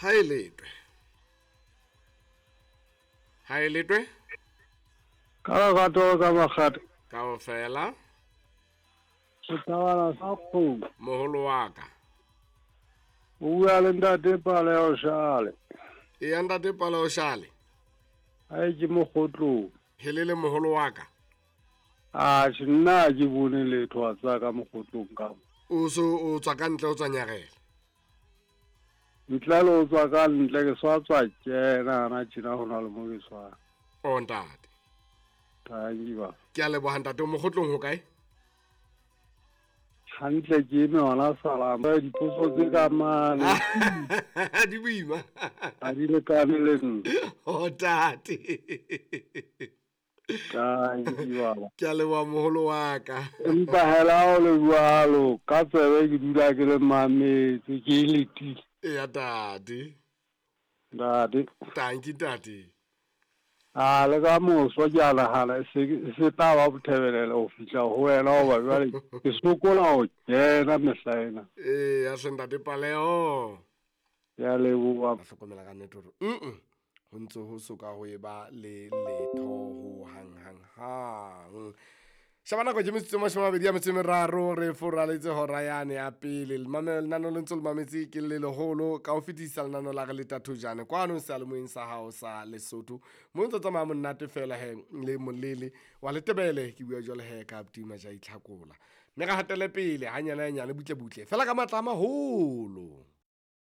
Ha e letwe. Ha e letwe. Ka lerato ka makgata. Kaofela. Sethabana sa kgomo. Moholo wa ka. O bua le ntate Paleo Shale. Eya ntate Paleo Shale. Ae ke mokgotlong. Helele moholo wa ka. Atjhe nna ha ke bone letho wa tseba ka mokgotlong ka mo. O so o tswa ka ntle o tswa nyarela. Ntle le o tswa ka ntle ke swa tswa kena hana tjena ho na le mo ke swang. O ntate. Tanki ba. Ke a leboha ntate o mokgotlong ho kae? Hantle ke eme hona salama dipotso tse ka mane. Di boima. Ha di lekane le nna. O tate. Ke a leboha moholo wa ka. Empa hela o le jwalo ka tsebe ke dula ke le mametse ke e letile. Eya tate. Ntate. Tanki ntate. A le ka moso ke a nagana e se tla ba bothebelele go fihla go wena goba jwale ke sokola go kena mehla ena. Ee, ya hle ntate Paleo. Ke a leboha. Ka hlokomela ka nnete hore mm ho ntse ho soka ho eba le letho ho hang hang hang. Shaba nako ke metsotso e 28 a metso e meraro re foraletse hora yane ya pele. Lenano le ntse le mametse ke le leholo ka ho fetisa lenano la re le tathojane kwano seyalemoyeng sa hao sa Lesotho. Mo ntse tsamaya monate fela he le molele wa Letebele ke bua jwale he ka Abdi Majai Tlhakola. Mme re hatele pele hanyane hanyane butle butle fela ka matla a maholo.